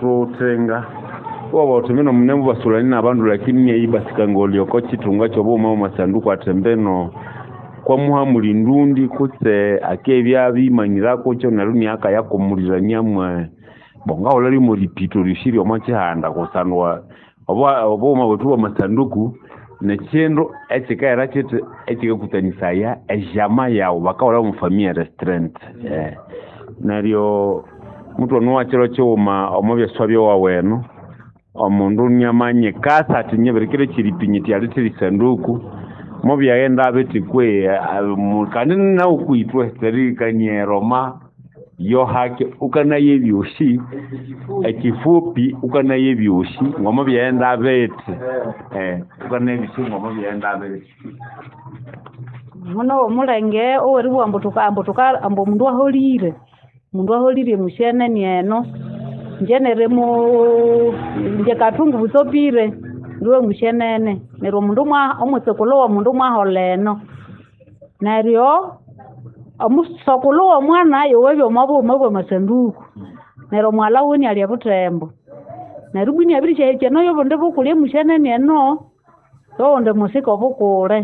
Tuthenga iwabugha wuthi mbino munemubasulani nabandu lakini inyayibasikangolya oko kyithunga kyobughuma bwamasanduku athi mbino kwamuha muli ndundi kutse akibya abimanyira kukyo neryo inakayakumulirania mwe bo ngahulha lyomo ripito ryosi ryomo kyihanda kusangwa obughuma bwethu bwamasanduku nikyindu ekyikaghera kyithi ekyikakutanisaya ejama yaghu bakahulha omo famille restreinte. Neryo muthwana kyiro kyighuma omo byaswa byowawu eno omundu inamanyikasa athi nyibirikira ekyiripi nyithi alethe erisanduku mubyaghenda bithi kwehi kandi nawu kwithwe terihikania eroma yohake wukanaya ebyosi ekyifupi wukanaya ebyosi ngomubyaghenda bithi wukanaya ebyosi ngomubyaghenda bithi. Muno omulenge oweribugha ambu tuka ambu omundu aholire omundu aholire emusyenene eno ingye nirimu ingye Kathungu Busopire ndiwe musyenene neryo omundu omwitsukulhu womundu mwaholha eno neryo omusokulhu womwana yowabya omo bughuma bwamasanduku neryo omwalha wiwe inialya ebuthembo neryo ibwa iniabirisyahikya eno yobundi bukule emusyenene eno yowundi musika obukule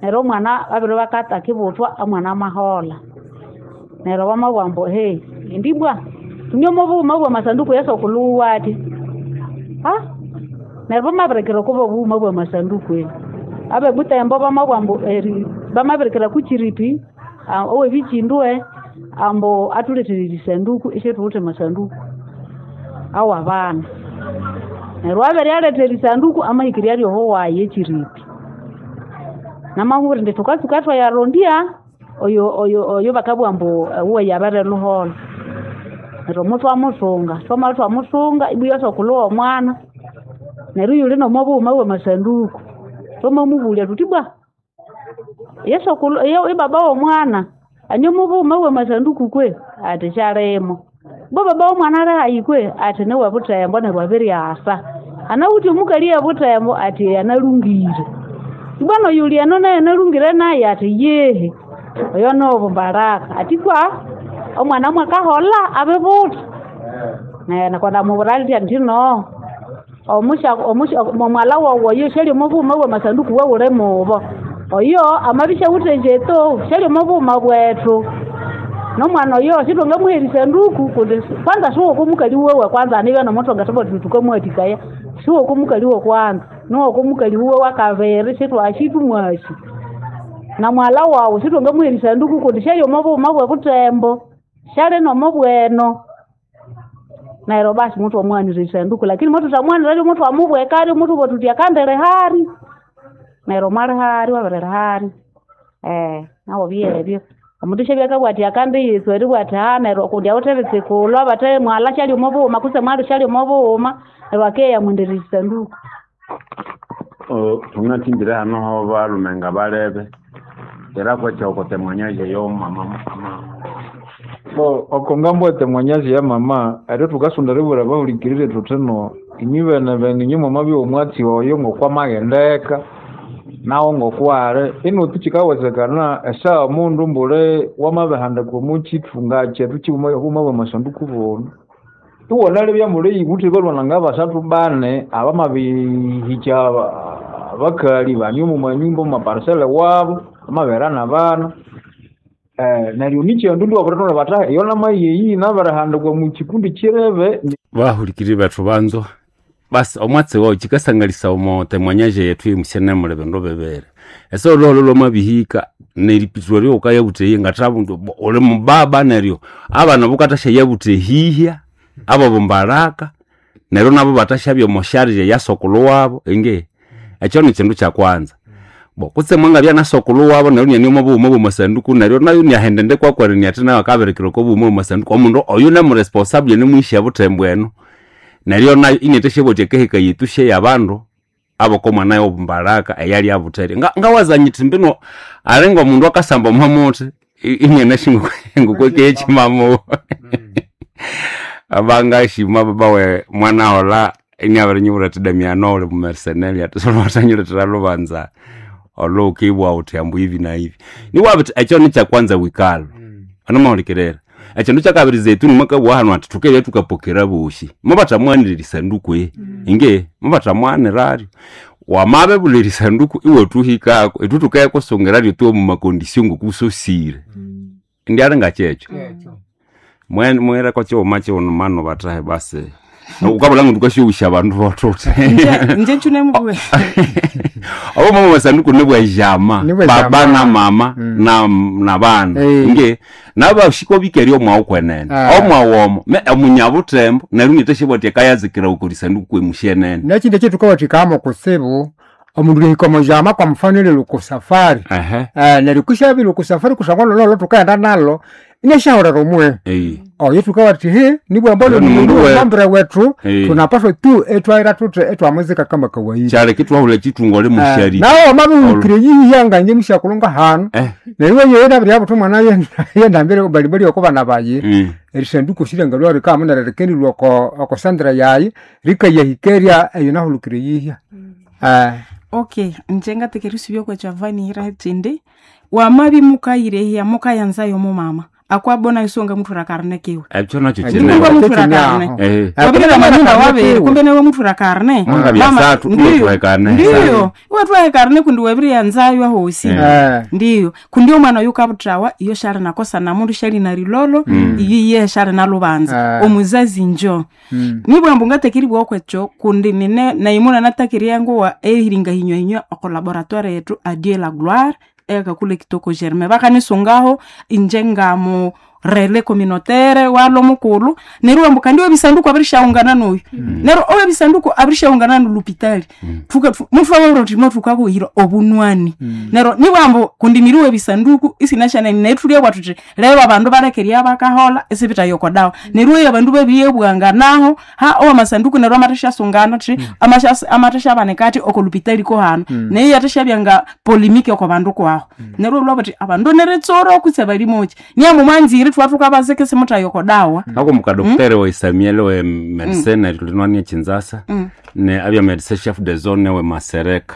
neryo omwana babiribya akathakibuthwa omwana amaholha neryo bamabugha ambu he indi ibwa thune omo bughuma bwamasanduku eyasokulhu wuwe athi neryo bamabirikira oko bughuma bwamasanduku ebi abebuthembo bamabugha ambu bamabirikira kukyiripi owebikyindwe ambu athulethere erisanduku isyathuwithe amasanduku awabana neryo abiryaletha erisanduku amahikirya ryoho wayi ekyiripi namabwira indi thukatsuka thwayarondya oyo oyo oyo bakabugha ambu wuwe yabiriluholha neryo muthwamusunga thwamabya thwamusunga ibwa yosokulhu womwana neryo iyuli nomo bughuma bwamasanduku thwamamubulya thuthi ibwa yesokulhu ibaba womwana ane omo bughuma bwamasanduku kwe athi syalimo ibwa baba womwana alihayi kwe athi niwebuthembo neryo abiryasa anawithe omukali ebuthembo athi analungire ibwa noyuli eno nayo analungire naye athi yehe oyo nobo Mbaraka athi kwa omwana mwakaholha abibutha neryo kwandamubwira ndya nthi no omwalha wawu oyo syali omo bughuma bwamasanduku wawuli mubo oyo amabya isyawithe enjeto syali omo bughuma bwethu nomwana oyo sithwangamuha erisanduku kundi kwanza siwoko mukali wuwe kwanza anibya nomuthwangathabugha thuthi thukamuwathikaya siwoko mukali wokwanza niwoko mukali wuwe wakabiri sithwasi thumwasi namwalha wawu sithwangamuha erisanduku kundi syali omo bughuma bwebuthembo syali nomo bweno neryo basi muthwamuwanira erisanduku lakini muthuthamuwaniraryo muthwamubwekaryo muthwabugha thuthi akandilihari neryo mwalihari wabirilihari nawo byebyo omundu isyabya akabugha athi akandiyitswa eribugha athi neryo kundi awithe ebitsikulhu abathe mwalha syali omo bughuma kutse mwalhu syali omo bughuma neryo akeya yamwendera erisanduku. Thungathimbire hano hobalhume ngabalebe era kwekyakote mwanyazi eyo mama Bo oko ngambo etemwanyazi ya mama eryo thukasonda eribwira abahulikiriri thuthi no inywe bene bene inywe mwamabya omwatsi oyo ngokwamaghendeka nawo ngokwali inutu kyikawezekana esaha mundu mbuli wamabihandika omo kyithunga kyethu kyighuma obughuma bwamasanduku bunu iwunalebya muli iwuthe balhwana ngabasathu bani abamabihikya abakali bane omo manyumba omo maparisele wabo bamabihera nabana neryo nikyindu iwabirithunga bathi eyo namayeyi nabirihandikwa omu kyikundi kyirebe. Bahulikiriri bethu banzwa basi omwatsi wawu kyikasangalisa omo temwanyaje yethu yemusyane muli bindu bibiri ese olhuholho lwamabihika neripitwa ryowukayabutha ngathabundu uli mubaba neryo abana bukathasya ehihya abo bumbaraka neryo nabo bathasyabya omo sharje eya sokulhu wabo ingi ekyo nikyindu kyakwanza bo kutse mwangabya na sokulhu wabo neryo iniane omo bughuma bwamasanduku neryo nayo iniaghenda ndekwakweri athi nayo akabirikira oko bughuma bwamasanduku omundu oyu nemuresponsable nimwishi ebuthembo eno neryo nayo inathasyabugha athi akaheka yethu syeyabandu abokomwana yobumbaraka eyali abutheri ngawaza nyithi mbino alinga omundu akasamba omo muthi inianasi ngokwekechimamu abangashima babawe mwana hola iniabirinyibwira athi Damiano uli mumercenary athi solwathanyilethera lubanza olo ukibwa uthi ambu hivi na hivi niwabithi ekyo nikyakwanza wikalhu onomahulikirira Ekindu kyakabiri Zeituni mwakabugha hanu ati thukebya thukapokera bosi mubathamwanira erisanduku inge mubathamwaniraryo wamabebulha erisanduku iwathuhikako ithwe thukayakusungiraryo tuwe mumakondisio ngokusosire ndiali ngakyekyo mwireko kighuma kighuma bathahe basi ukabulha ngu thukasyoghusya abandu bothuthi Nje nkyunemubuwe obo mama masanduku nibwejama Nibwe jama. baba na mama na bana nge nabashiko bikeria omwawu kwenene omwawu omo me omunyabutembo neryo nitashibwati akayazikira ukorisanduku kwemushenene Nekindi ekyetukawathikamo kutsibu omundu lihika omujama kwa mfano ili lukusafari ehe neryo kushabiri lukusafari kusangwa lololo tukaghenda nalo inashahulera omwe ei oyo tukawathi he nibwamba Ni mundu we- lombre wetu Eh. tunapaswa tu etwaira tuthi etwamuzika kama kawaida kyaleka itwahula chitungole mushari nawe wamabihulukire yihiyanga nje mushakulunga hanu neryo yeyo nabiryabuthi omwana yendambire balibali oko bana bayi erisanduku sirenga lwa rikamu neryo rikendirwa oko oko sandra yayi rikayahikeria eyo nahulukire yihya Okay, nje ngatekera isubya okwekyava kyindi wamabi mukayirehya mukayanzayo mumama akwabona isonga muthura karne kiwe ekyo nakyo Ekyo kinene Kumbe muthura Ekyo karne kinyaho. Eh. wabirira manyumba wabiri kumbe newe muthura karne Mwangabya Mama, satu, ndiyo, iwe karne. ndiyo iwe twahe karne kundi wabiriyanzayo ahosi ndiyo kundi omwana oyu kabuthawa iyo shali nakosa namundu shali na rilolo iyo iye shali nalubanza omuzazi njo nibwambu ngatekeriwa okwekyo kundi nine naimuna natakiria nguwa ehiringa hinywa oko laboratoire yetu adie la gloire ekakule kitoko germain bakanisungaho inje ngamu rele communautaire walo mukulu neryo wambu kandi webisanduku abirishaungana noyu neryo owebisanduku abirishaungana nolupitali mutu wawuroti motukakuhira obunwani neryo nibwambu kundi niriwe bisanduku isinashanani nethulia bwathuthi lero abandu balekeria bakahola isibitayokodawa neryo eyo abandu babiyebwanganaho ha owamasanduku neryo amatashasungana thi amatashabanikati okolupitali kohano neyo yatashabyanga polimiki oko bandu kwaho neryo lwabuthi abandu neritsoro kutse balimoki niamu mwanzire thwathukabazike simuthayokodawa nako mukadoktere wa Samuel we medecine tulinwania chinzasa ne abya medecine chef de zone we masereka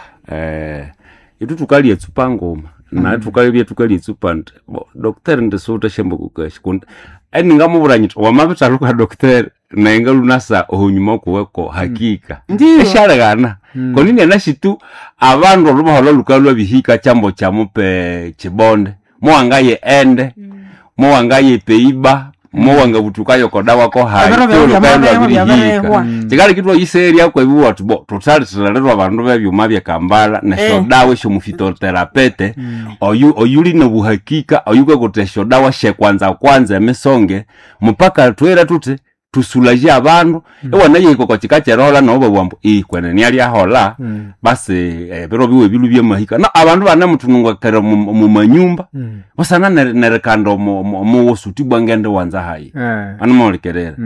itu tukalie tsupa ngoma na tukalibya tukalie tsupa nti bo doktere ndisuta shembo kukashi kundi eningamubura nyiti wamabitaluka doktere nainga lunasa ohunyuma kuweko hakika Ndiyo. eshalegana konini anashitu abandu olubahola lukalwa bihika chambo chamupe chibonde mowangaye ende mowangaye peiba mowanga butukayo kodawa ko hai Ebiro tolo byawe kaelwa byabarehwa, birihika byabarehwa. chikali kitwa iseria kwebiwa tubo tutalithilalirwa abandu bebyuma byekambala nesyodawa esyomufitoterapete oyu oyuli nobuhakika oyukakuthi esyodawa syekwanza kwanza emisonge mupaka twira tuthi tusulaje abandu iwanayihika chika kyerohola nabo babugha i kwenene alyahola basi ebiro biwe bilu byamahika na abandu banemuthunungakira mumanyumba busana nerikanda omuwusu tibwa ngende wanza hayi animaulikerera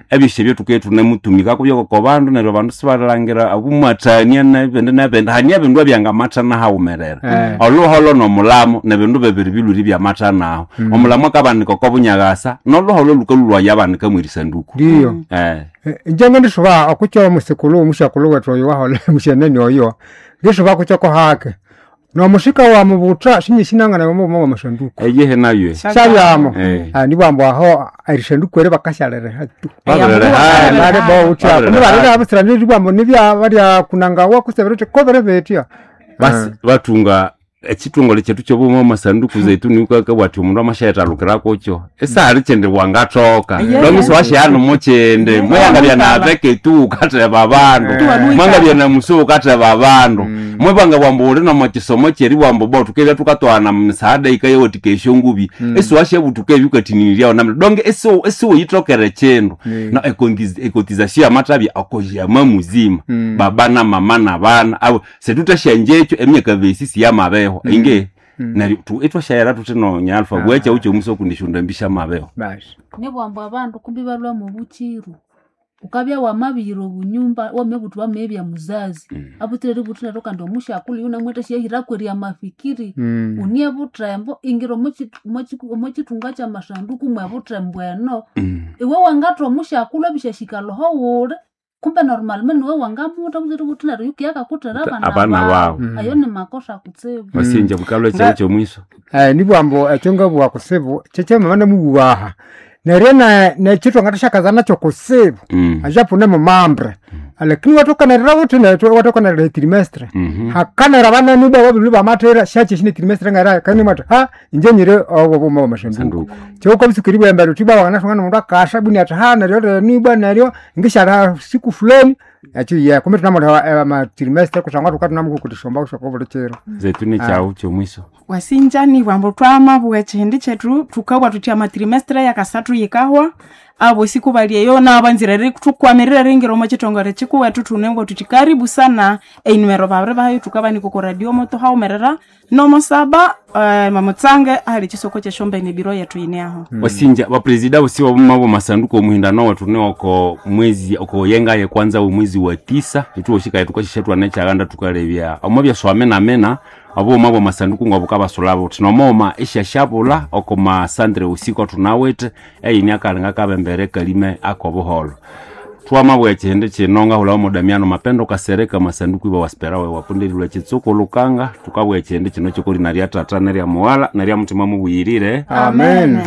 ebyosi ebyo tuke tunemutumikako byokoko bandu neryo abandu sibalhangira abumwathania nebindi nebindi hania ebindu ebyangamathana hawumerera oluholo nomulamo nebindu bibiri biluri byamathanaho omulamo akabanika oko bunyakasa noluholo lukalulwaya abanika mwerisanduku ndiyo eh njenge ndisuba okukyo omusikulu omusyakulu wethu oyo wahola mushenene oyo ndisuba kukyoko hake nomusika wa mubutha sinyisinangana omubumo wa masanduku eyehe nayo sabyamo Eh. nibwambu aho erisanduku eri bakashaliriha tu Babiririha. bali bowutya Babiririha. kundi balira nibwambu nibya balya kunangawa kusebera uthi kobere betya basi batunga ekitongole kyethu kyobuma amasanduku zeituni ukakabwati omundu amashayetalukirako esahali kyende wangathoka Yeah. lomisi washihanu mukyende mweyangabya nabeketu ukatheba abandu mwangabya na musu ukatheba abandu mwebanga bwambu uli nomukisomo kyeri bwambu bo tukebya tukatwana mumisaada ikayewathika esyongubi esiwashabutuka ebyo ukathiniriryawo namna donge esiwuyithokere kindu na ekotizasio yamathabya okoyama muzima baba na mama na bana abo sethuthasyanjekyo emyaka besisi yamabeho inge neryo ithwashayira thuthi nonyalfa bwekya ukyomusa okundishunda mabeho basi nibwambu abandu kumbi balwa mubuchiru ukabya wamabiyira obunyumba wamebuthu wamebya muzazi abutsire ributhu neryo kandi omusyakulu yunamwetha syahiraku erya mafikiri unie buthembo ingira omokyithunga kyamasanduku mwebuthembo eno iwe wangatha omusyakulu ebisyashika loho wuli kumbe normalement niwe wangamutha butsire ributhu neryo yukiyakakuthera Abana abana bawu. bawu ayo ni makosa kutsibu wasinja bukalwa ekyawu kyomwiso nibwambu ekyo ngabugha kusibu kyekyamama namubuwaha Neryo nekyo twangathasyakaza nakyo kutsibu, ajapo nemumambre, lakini watokanirira wuthi nethu watokanirira etrimestre, hakanira banene ibwa babiri bamathira syakyesi netrimestre ngera kandi mwathu ha inje nyiri obwo buma bwamasanduku. Kyokwa bisukiri bwembere uthi ibwa wanganasonga nomundu akasha bwini athi ha neryo renu ibwa neryo ngisyala siku fulani ekyo ye kumbe tunamulha amatrimestre kusangwa thuka tunamukukuthishomba kusoko buli kiro. Zetuni kyawu kyomwiso. Wasinjani bwambo twamabugha ekihindi kyethu thukabugha thuthi amatrimestre yakasathu yikahwa, abosi kubali eyo nabanzire thukkwamirira eringira omo kithongole kikuwethu thunebwa thuthi karibu sana. Einumero babiri bahayo thukabanika oko radio moto haumerera nomosaba, mamutsange ahali ekisoko kyesyombene ebiro yethu yine aho. Wasinja bapresida bosi babuma bomasanduku omuhindano wethu ni oko mwezi oko yenga ye kwanza omwezi wa 9 ithuwoshikaye thukashisha thwana ekyaganda thukalebya omo byaswamenamena obuma bwamasanduku ngobukabasulha buthi nomoghuma isyasyabulha oko masandre usiku athunawithe eyini akalinga kabembere kalime akobuholho. Twamabugha ekihindi kino ngahulhawo Damiano Mapendo Kasereka masanduku iba wasiperawe wapundirilwe kitsuku lukanga. Thukabugha ekihindi kino kyokolina lya tata nerya mughala nerya mutima mubuyirire. Amen.